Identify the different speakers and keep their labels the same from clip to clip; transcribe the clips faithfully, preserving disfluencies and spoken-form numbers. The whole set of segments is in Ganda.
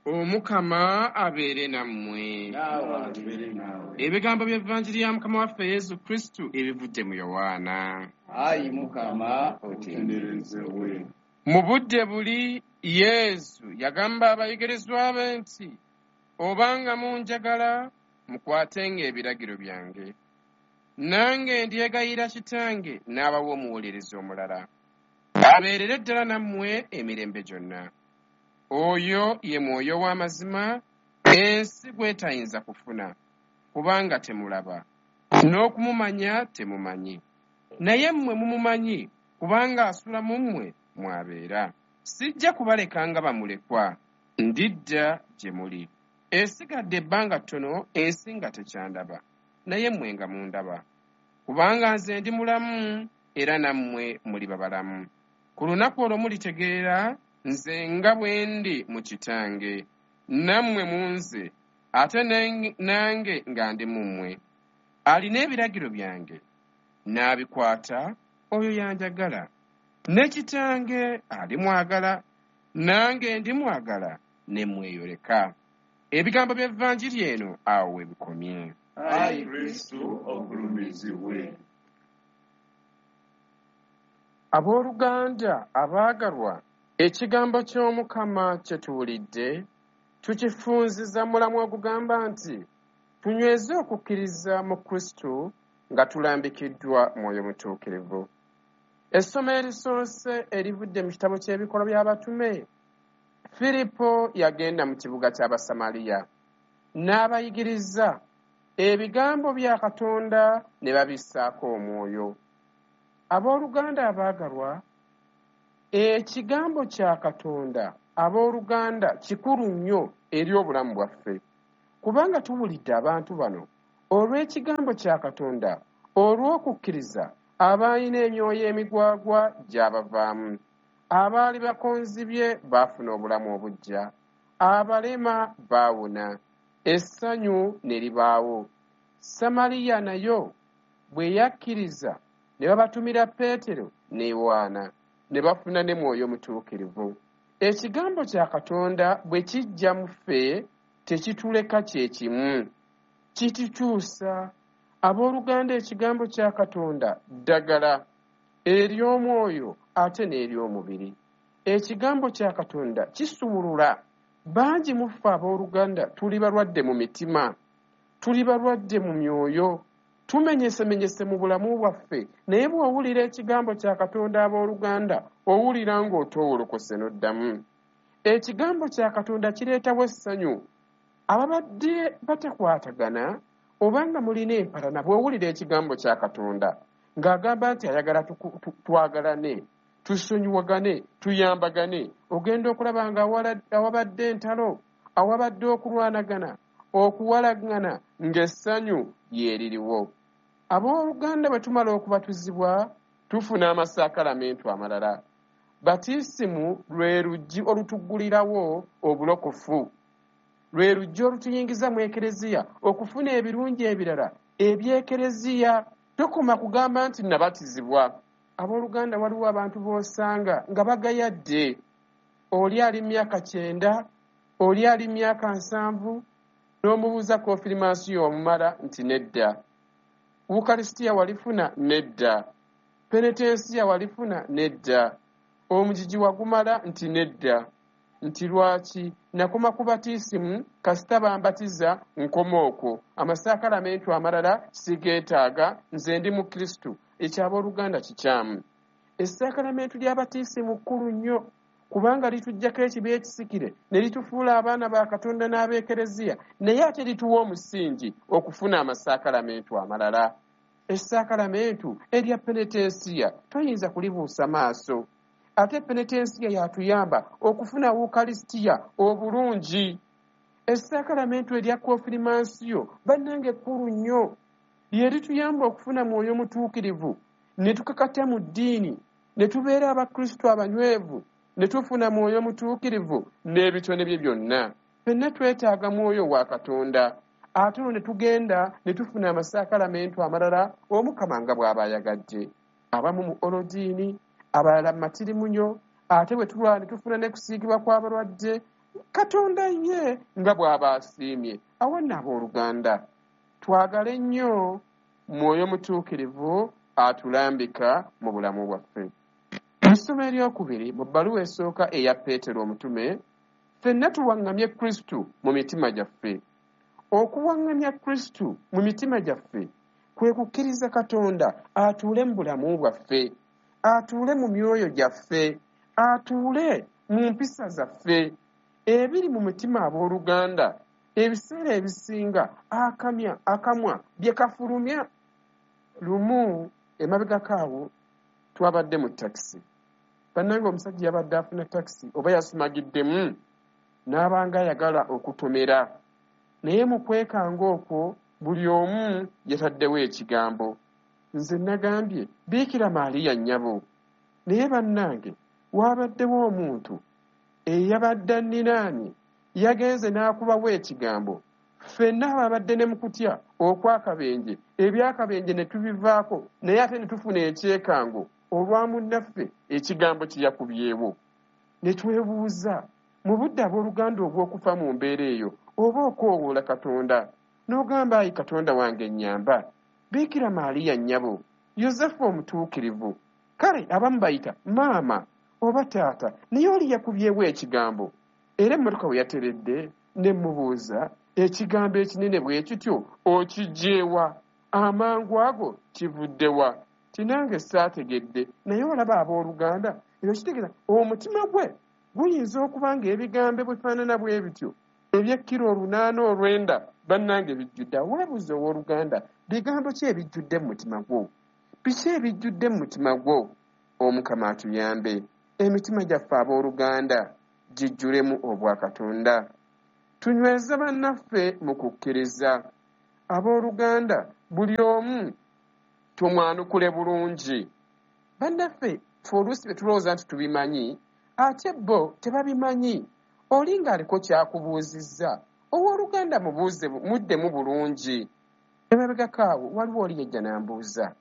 Speaker 1: Omukama abeere nammwe.
Speaker 2: Naawe abeere naawe.
Speaker 1: Ebigambo by'Evanjiri ya Mukama waffe Yesu Kristu ebivudde mu Yowaana.
Speaker 2: Ayi Mukama, otenderezebwe.
Speaker 1: Mu budde buli Yesu yagamba abayigirizwa be nti, obanga munjagala, mukwatenga ebiragiro byange. Nange ndyegayira Kitange n'abawa omuwolereza omulala, abeerere ddala nammwe emirembe gyonna. Oyo ye Mwoyo w'amazima, ensi gw'etayinza kufuna, kubanga temulaba, n'okumumanya temumanyi. Naye mmwe mumumanyi, kubanga asula mu mmwe mw'abeera. Sijja kubaleka nga bamulekwa, ndidda gye muli. Esigadde ebbanga ttono ensi nga tekyandaba, naye mmwe nga mundaba. Kubanga nze ndi mulamu, era nammwe muliba balamu. Ku lunaku olwo mulitegeera nze nga bwe ndi mu Kitange, nammwe mu nze, ate nange nga ndi mu mmwe. Alina ebiragiro byange, n'abikwata, oyo yanjagala. Ne Kitange alimwagala, nange ndimwagala, ne mweyoleka. Ebigambo by'Evanjiri eno awo we bikomye.
Speaker 2: Ayi Kristu ogulumizibwe.
Speaker 1: Abooluganda abaagalwa, ekigambo ky'Omukama kye tuwulidde tukifunziza mulamu ogugamba nti tunyweze okukkiriza mu Kristu nga tulambikiddwa Mwoyo Mutuukirivu. Essomo erisoose erivudde mu kitabo ky'Ebikolwa by'Abatume. Firipo yagenda mu kibuga ky'Abasamaliya n'abayigiriza ebigambo bya Katonda ne babissaako omwoyo. Abooluganda abaagalwa, ekigambo kya Katonda abooluganda kikulu nnyo eri obulamu bwaffe, kubanga tuwulidde abantu bano olw'ekigambo kya Katonda, olw'okukkiriza abalina emyoyo emigwagwa gy'abavaamu, abaali bakonzibye baafuna obulamu obuggya, abalema baawona, essanyu ne libaawo. Samaliya nayo bwe yakkiriza ne babatumira Peetero ne Yowaana, ne bafuna ne Mwoyo Mutuukirivu. Ekigambo kya Katonda bwe kijja mu ffe tekituleka kye kimu, kitukyusa. Abooluganda, ekigambo kya Katonda ddagala ery'omwoyo ate n'ery'omubiri. Ekigambo kya Katonda kisumulula. Bangi mu ffe abooluganda tuli balwadde mu mitima, tuli balwadde mu myoyo, tumenyesemenyese mu bulamu bwaffe. Naye bw'owulira ekigambo kya Katonda abooluganda, owulira ng'otoowolokose n'oddamu. Ekigambo kya Katonda kireetawo essanyu. Ababadde batakwatagana obanga mulina empalana, bw'owulira ekigambo kya Katonda ng'agamba nti ayagala twagalane, tusonyiwagane, tuyambagane, ogenda okulaba nga awabadde entalo, awabadde okulwanagana, okuwalagana, ng'essanyu lyeririwo. Abooluganda bwe tumala okubatizibwa tufuna amasakalamentu amalala. Batisimu lwe luggi olutuggulirawo obulokofu, lwe luggi olutuyingiza mu Ekereziya okufuna ebirungi ebirala eby'Ekereziya. Tokoma kugamba nti nabatizibwa. Abooluganda, waliwo abantu b'osanga nga bagayadde. Oli ali myaka kyenda, oli ali myaka nsanvu, n'omubuuza konfirmansiyo wamumala nti nedda. Ukarisitiya walifuna? Nedda. Penetensiya walifuna? Nedda. Omugigi wagumala? Nti nedda. Nti lwaki? Nakoma ku batisimu, kasita bambatiza nkoma okwo. Amasakalamentu amalala sigeetaaga, nze ndi mu Kristu. Ekyo abooluganda kikyamu. Essakalamentu lya batisimu kkulu nnyo, kubanga lituggyako ekibi ekisikire ne litufuula abaana ba Katonda n'ab'Ekereziya, naye ate lituwa omusingi okufuna amasakalamentu amalala. Essakalamentu erya penetensiya toyinza kulibuusa maaso. Ate penetensiya yatuyamba okufuna Ukarisitiya obulungi. Essakalamentu erya konfirmansiyo bannange kkulu nnyo, lye lituyamba okufuna Mwoyo Mutuukirivu ne tukakata mu ddiini, ne tubeera Abakristu abanywevu, ne tufuna Mwoyo Mutuukirivu n'ebitone bye byonna. Ffenna twetaaga Mwoyo wa Katonda. Ate olwo ne tugenda ne tufuna amasakalamentu amalala Omukama nga bw'aba ayagadde. Abamu mu olodiini, abalala mu matirimunyo, ate bwe tulwala ne tufuna ne kusiigibwa kw'abalwadde. Katonda ye nga bw'aba asiimye. Awo nno abooluganda, twagale nnyo Mwoyo Mutuukirivu atulambika mu bulamu bwaffe. Mu ssomo eryokubiri mu bbaluwa esooka eya Peetero omutume, ffenna tuwaŋŋamye Kristo mu mitima gyaffe. Okuwaŋŋamya Kristo mu mitima gyaffe kwe kukkiriza Katonda atuule mu bulamu bwaffe, atuule mu myoyo gyaffe, atuule mu mpisa zaffe. Ebiri mu mutima abooluganda ebiseera ebisinga akamya akamwa bye kafulumya. Lumu emabegako awo twabadde mu takisi. Bannange omusajja yabadde afuna takisi oba yasumagiddemu n'abanga ayagala okutomera, naye mu kwekanga okwo buli omu yataddewo ekigambo. Nze nagambye Biikira Maaliya nnyabo, naye bannange waabaddewo omuntu eyabadde anninaanye yagenze n'akubawo ekigambo. Ffenna ababadde ne mu kutya okw'akabenje, eby'akabenje ne tubivaako, naye ate ne tufuna ekyekango olwa munnaffe ekigambo kye yakubyewo. Ne twebuuza mu budde abooluganda obw'okufa mu mbeera eyo oba okwowoola Katonda n'ogamba, ayi Katonda wange nnyamba, Biikira Maaliya nnyabo, Yosefu omutuukirivu. Kale abamu bayita maama oba taata, naye oli yakubyewo ekigambo. Era emmotoka we yateredde ne mmubuuza, ekigambo ekinene bwe kityo okiggyewa? Amangu ago kivudde wa? Tinange saategedde. Naye olaba abooluganda, ebyo kitegeeza omutima gwe guyinza okuba ng'ebigambo bifaanana bwe bityo eby'ekkiro olunaana olwenda bannange bijjudde. Weebuuze owooluganda, bigambo ki ebijjudde mu mutima gwo? Biki ebijjudde mu mutima gwo? Omukama atuyambe emitima gyaffe abooluganda gijjulemu obwakatonda. Tunyweze bannaffe mu kukkiriza. Abooluganda buli omu tumwanukule bulungi. Bannaffe ffe oluusi bye tulowooza nti tubimanyi, ate bo tebabimanyi. Oli ng'aliko ky'akubuuzizza, owooluganda mubuuze muddemu bulungi. Emabegako awo waliwo oli yajja n'ambuuza,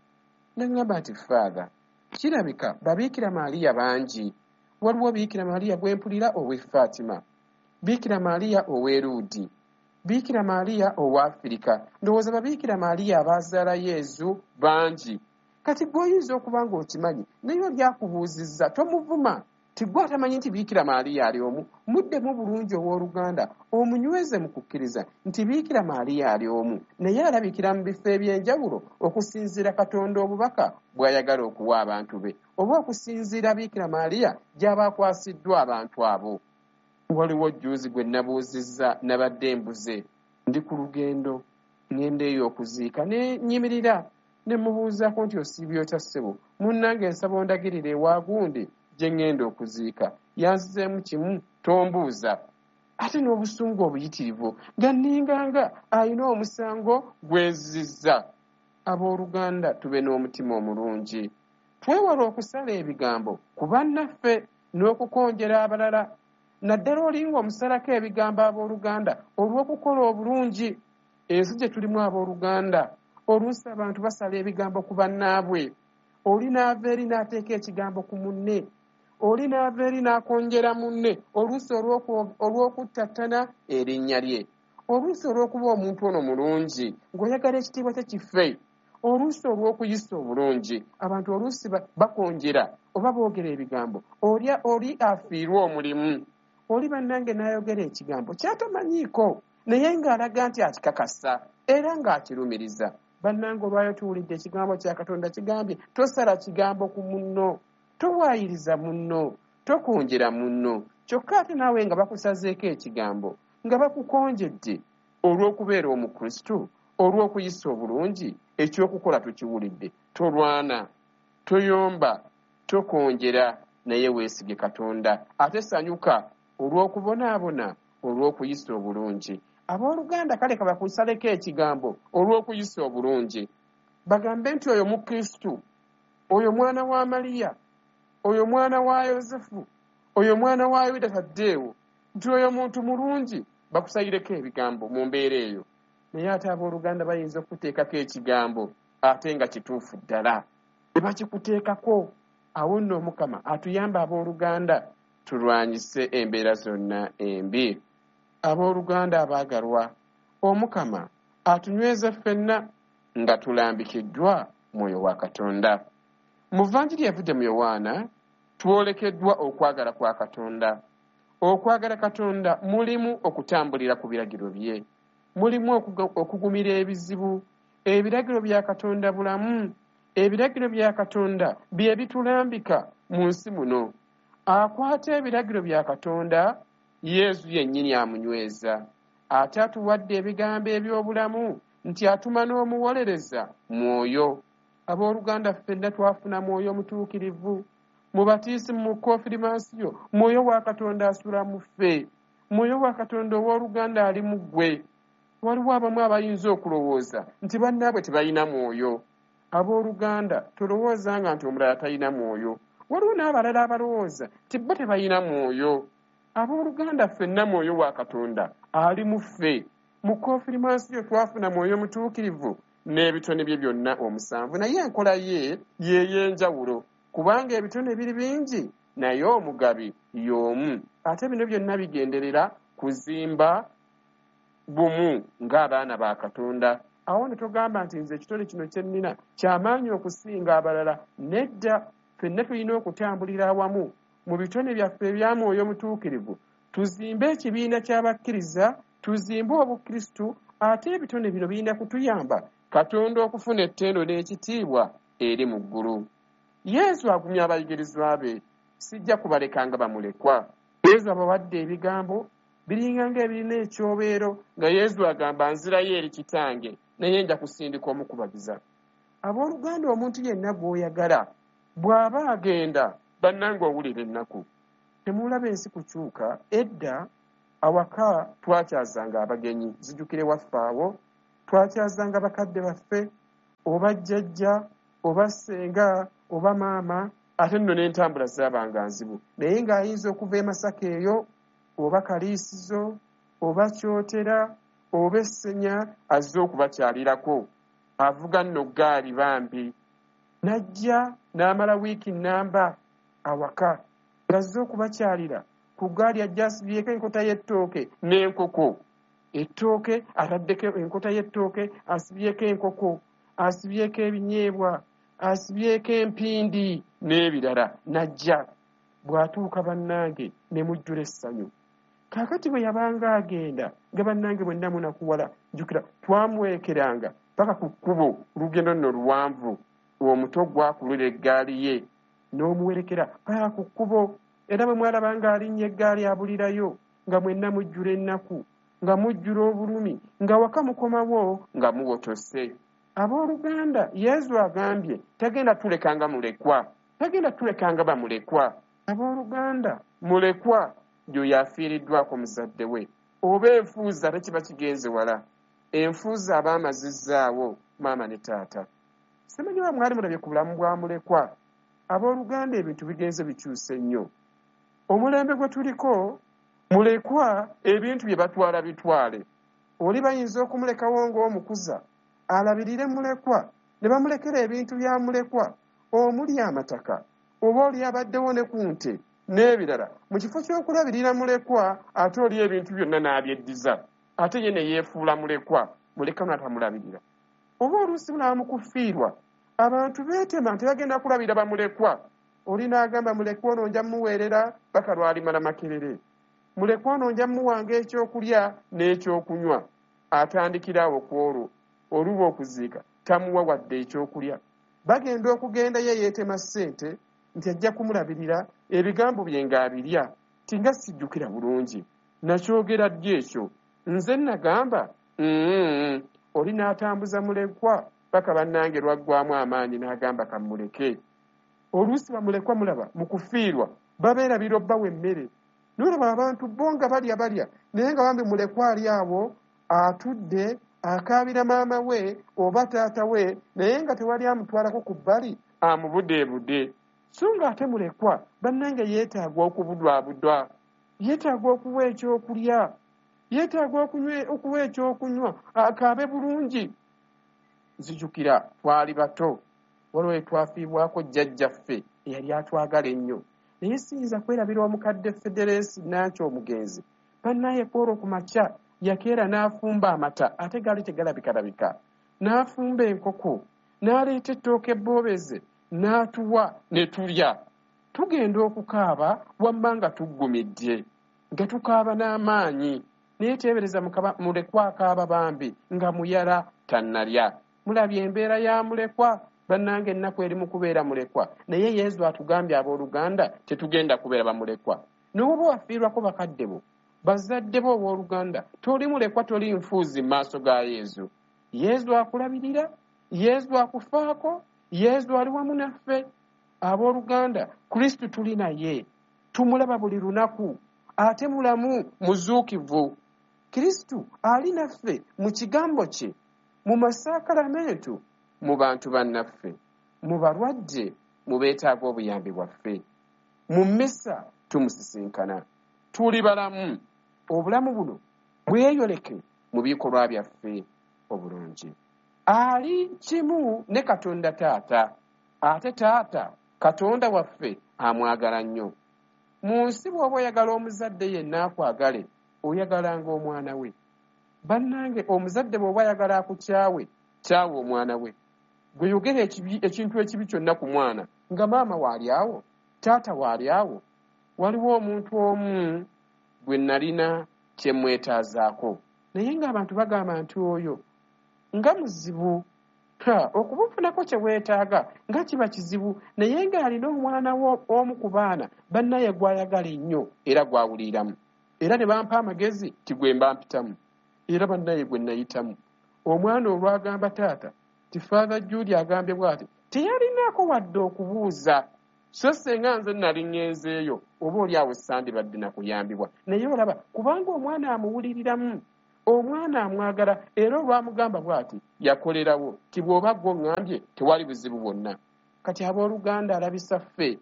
Speaker 1: n'aŋŋamba nti Father, kirabika babiikira Maaliya bangi. Waliwo Biikira Maaliya gwe mpulira ow'e Fatima, Biikira Maaliya ow'e Luudi, Biikira Maaliya ow'Afirika. Ndowooza babiikira Maaliya abaazaala Yezu bangi. Kati gwe oyinza okuba ng'okimanyi, naye oli akubuuzizza tomuvuma. Tigwe atamanyi nti Biikira Maaliya ali omu, muddemu bulungi owooluganda, omunyweze mu kukkiriza nti Biikira Maaliya ali omu, naye alabikira mu bifo eby'enjawulo okusinziira Katonda obubaka bw'ayagala okuwa abantu be, oba okusinziira Biikira Maaliya gy'aba akwasiddwa abantu abo. Waliwo jjuuzi gwe nabuuzizza, nabadde mbuze, ndi ku lugendo ŋŋenda eyo okuziika, ne nnyimirira ne mubuuzaako nti osiibye otya ssebo, munnange nsaba ondagirire ewa gundi gye ŋŋenda okuziika. Yanzizeemu kimu, tombuuza. Ate n'obusungu obuyitirivu nga nninganga alina omusango gwe nzizza. Abooluganda tube n'omutima omulungi, twewale okusala ebigambo ku bannaffe n'okukonjera abalala, naddala oli ng'omusalako ebigambo abooluganda olw'okukola obulungi. Ensi gye tulimu abooluganda, oluusi abantu basala ebigambo ku bannaabwe. Oli n'ava eri n'ateeka ekigambo ku munne, oli n'ava eri n'akonjera munne, oluusi olw'okuttattana erinnya lye, oluusi olw'okuba omuntu ono mulungi ng'oyagala ekitiibwa kye kife, oluusi olw'okuyisa obulungi. Abantu oluusi bakonjera oba boogera ebigambo, oli oli afiirwa omulimu, oli bannange n'ayogera ekigambo ky'atamanyiiko, naye ng'alaga nti akikakasa era ng'akirumiriza. Bannange olwayo tuwulidde ekigambo kya Katonda kigambye tosala kigambo ku munno, towaayiriza munno, tokonjera munno. Kyokka ate naawe nga bakusazeeko ekigambo, nga bakukonjedde olw'okubeera Omukristo, olw'okuyisa obulungi, ekyokukola tukiwulidde. Tolwana, toyomba, tokonjera, naye weesige Katonda. Ate sanyuka olw'okubonaabona olw'okuyisa obulungi. Abooluganda kale kabakusaleko ekigambo olw'okuyisa obulungi, bagambe nti oyo Mukristo, oyo mwana wa Mariya, oyo mwana wa Yosefu, oyo mwana wa Yuda Taddeewo, nti oyo muntu mulungi, bakusayireko ebigambo mu mbeera eyo. Naye ate abooluganda bayinza okuteekako ekigambo ate nga kituufu ddala, ne bakikuteekako. Awo nno Omukama atuyambe abooluganda Tulwanyise embeera zonna embi. Abooluganda abaagalwa, Omukama atunyweze ffenna nga tulambikiddwa Mwoyo wa Katonda. Mu Vanjiri evudde mu Yowaana twolekeddwa okwagala kwa Katonda. Okwagala Katonda mulimu okutambulira ku biragiro bye, mulimu okugumira ebizibu. Ebiragiro bya Katonda bulamu. Ebiragiro bya Katonda bye bitulambika mu nsi muno. Akwata ebiragiro bya Katonda, Yesu yennyini amunyweza. Ate atuwadde ebigambo eby'obulamu nti atuma n'omuwolereza Mwoyo. Abooluganda ffenna twafuna Mwoyo Mutuukirivu. Mu batiisimu, mu konfirmansiyo, Mwoyo wa Katonda asula mu ffe. Mwoyo wa Katonda owooluganda ali mu ggwe. Waliwo abamu abayinza okulowooza nti bannaabwe tebalina mwoyo. Abooluganda, tolowoozanga nti omulala talina mwoyo. Waliwo n'abalala abalowooza nti bo tebalina mwoyo. Abooluganda ffenna Mwoyo wa Katonda ali mu ffe. Mu konfirmansiyo twafuna Mwoyo Mutuukirivu n'ebitone bye byonna omusanvu, naye enkola ye y'ey'enjawulo, kubanga ebitone biri bingi naye omugabi y'omu. Ate bino byonna bigenderera kuzimba bumu ng'abaana ba Katonda. Awo ne togamba nti nze ekitone kino kye nnina kyamaanyi okusinga abalala. Nedda, ffenna tulina okutambulira awamu mu bitone byaffe ebya Mwoyo Mutuukirivu, tuzimbe ekibiina ky'abakkiriza, tuzimbe Obukristu. Ate ebitone bino birina kutuyamba Katonda okufuna ettendo n'ekitiibwa eri mu ggulu. Yesu agumya abayigirizwa be, sijja kubalekanga bamulekwa. Yesu abawadde ebigambo biringa ng'ebirina ekyobeero, nga Yesu agamba nzirayo eri kitange, naye nja kusindika omukubagiza. Abooluganda, omuntu yenna gw'oyagala bw'aba agenda, bannange owulira ennaku. Temulaba ensi kukyuka. Edda awaka twakyazanga abagenyi, zijjukire waffe awo twakyazanga bakadde baffe, oba jjajja oba ssenga oba maama. Ate nno n'entambula zaabanga nzibu, naye ng'ayinza okuva e Masaka eyo oba Kaliisizo oba Kyotera oba Essenya azze okubakyalirako. Avuga nno ggaali bambi, n'ajja n'amala wiiki nnamba awaka ng'azze okubakyalira. Ku ggaali ajja asibyeko enkota y'ettooke n'enkoko. Ettooke ataddeko enkota y'ettooke, asibyeko enkoko, asibyeko ebinyeebwa, asibyeko empindi n'ebirala. N'ajja bw'atuuka bannange ne mujjula essanyu. Kaakati bwe yabanga agenda nga bannange bwenna munakuwala, jjukira twamuwerekeranga paka ku kkubo, olugendo nno luwanvu, omuto gwakulula eggaali ye n'omuwerekera paka ku kkubo. Era bwe mwalabanga alinnya eggaali abulirayo, nga mwenna mujjula ennaku, nga mujjula obulumi, nga waka mukomawo nga muwotose. Abooluganda, Yesu agambye tagenda tulekanga mulekwa, tagenda tulekanga bamulekwa. Abooluganda, mulekwa y'oyo afiiriddwako muzadde we, oba enfuuza ate kiba kigenze wala. Enfuuza aba amazizzaawo maama ne taata. Simanyi oba mwali mulabye ku bulamu bwa mulekwa. Abooluganda, ebintu bigenze bikyuse nnyo. Omulembe gwe tuliko, mulekwa ebintu bye batwala bitwale. Oli bayinza okumulekawo ng'omukuza alabirire mulekwa, ne bamulekera ebintu bya mulekwa omuli amataka, oba oli abaddewo ne ku nte n'ebirala. Mu kifo ky'okulabirira mulekwa, ate oli ebintu byonna n'abyeddiza, ate ye ne yeefuula mulekwa, mulekwa n'atamulabirira. Oba oluusi mulaba mu kufiirwa, abantu beetema nti bagenda kulabira bamulekwa. Oli n'agamba mulekwa ono nja mmuweerera paka lw'alimala Makerere, mulekwa ono nja mmuwanga ekyokulya n'ekyokunywa. Atandikira awo ku olwo oluba okuziika tamuwa wadde ekyokulya. Bagenda okugenda ye yeetema ssente nti ajja kumulabirira, ebigambo bye ng'abirya ti nga sijjukira bulungi nakyogera ddi ekyo, nze nagamba mm. Oli n'atambuza mulekwa paka bannange lwaggwamu amaanyi n'agamba kammuleke. Oluusi bamulekwa mulaba mu kufiirwa babeerabira obbawa emmere. Nolaba abantu bo nga balya balya, naye nga bambi mulekwa ali awo atudde akaabira maama we oba taata we, naye nga tewali amutwalako ku bbali amubudeebude. So ng'ate mulekwa bannange yeetaaga okubudwabudwa, yeetaaga okuwa ekyokulya, yeetaaga okuwa ekyokunywa, akaabe bulungi. Nzijukira twali bato, waliwo twafiibwako jjajjaffe eyali atwagala ennyo. Naye siyinza kwerabira omukadde Federensi Nankyo omugenzi. Bannaye kwolwo ku makya yakeera n'afumba amata, ate gaali tegalabikalabika, n'afumba enkoko, n'aleeta ettooke ebboobeze, n'atuwa ne tulya. Tugenda okukaaba wamma nga tuggumidde, nga tukaaba n'amaanyi. Naye teebereza mulekwa akaaba bambi nga muyala tannalya. Mulabye embeera ya mulekwa, bannange ennaku eri mu kubeera mulekwa. Naye Yesu atugambye abooluganda tetugenda kubeera bamulekwa. N'oba wafiirwako bakadde bo, bazadde bo abooluganda, toli mulekwa, toli nfuuzi mu maaso ga Yesu. Yesu akulabirira, Yesu akufaako, Yesu ali wamu naffe. Abooluganda, Kristo tuli naye, tumulaba buli lunaku, ate mulamu muzuukivu. Kristo ali naffe mu kigambo kye, mu masakalamentu, mu bantu bannaffe, mu balwadde, mu beetaaga obuyambi bwaffe. Mu mmisa tumusisinkana, tuli balamu. Obulamu buno bweyoleke mu bikolwa byaffe obulungi. Ali kimu ne Katonda Taata, ate Taata Katonda waffe amwagala nnyo. Mu nsi bw'oba oyagala omuzadde yenna akwagale, oyagalanga omwana we. Bannange, omuzadde bw'oba ayagala akukyawe, kyawe omwana we. Gwe yogera ekintu ekibi kyonna ku mwana, nga maama waali awo, taata waali awo. Waliwo omuntu omu gwe nalina kye mwetaazaako, naye ng'abantu bagamba nti oyo nga muzibu. Ha, okumufunako kye weetaaga nga kiba kizibu, naye ng'alina omwana omu ku baana bannaye gw'ayagala ennyo era gw'awuliramu. Era ne bampa amagezi ti gwe mba mpitamu, era bannaye gwe nayitamu. Omwana olwagamba taata ti Father Jude agambye bw'ati, teyalinaako wadde okubuuza. So senga nze nali ŋŋenzeeyo, oba oli awo sandibadde na kuyambibwa. Naye olaba, kubanga omwana amuwuliriramu, omwana amwagala, era olwamugamba bw'ati yakolerawo ti bw'oba gwo ŋŋambye tewali buzibu bwonna. Kati abooluganda, alabisa ffe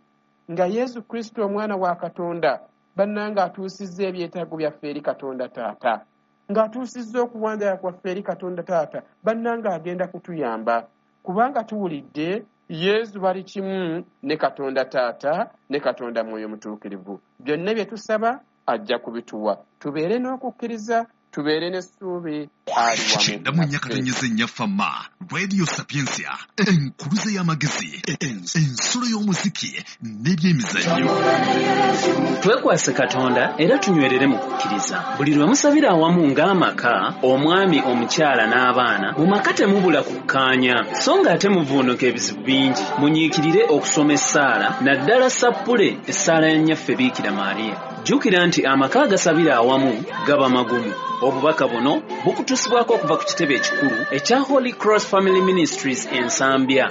Speaker 1: nga Yesu Kristo omwana wa Katonda bannange atuusizza ebyetaago byaffe eri Katonda Taata, ng'atuusizza okuwanjaga kwaffe eri Katonda Taata, bannange agenda kutuyamba, kubanga tuwulidde Yesu bali kimu ne Katonda Taata ne Katonda Mwoyo Mutuukirivu. Byonna bye tusaba ajja kubituwa. Tubeere n'okukkiriza, tubeere n'essuubi, ali wamu
Speaker 3: Kyenda mu nnya katonnyeze nnya Fama Radio Sapientia, enkuluze y'amagezi, ensulo y'omuziki n'ebyemizannyo.
Speaker 4: Twekwase Katonda era tunywerere mu kukkiriza. Buli lwe musabira awamu ng'amaka, omwami, omukyala n'abaana, mu maka temubula kukkaanya, so ng'ate muvuunuka ebizibu bingi. Munyiikirire okusoma essaala, naddala sappule essaala ya Nnyaffe Biikira Maria. Jjukira nti amaka agasabira awamu gaba magumu. Obubaka buno bukutuusibwako okuva ku kitebe ekikulu ekya Holy Cross Family Ministries e Nsambya.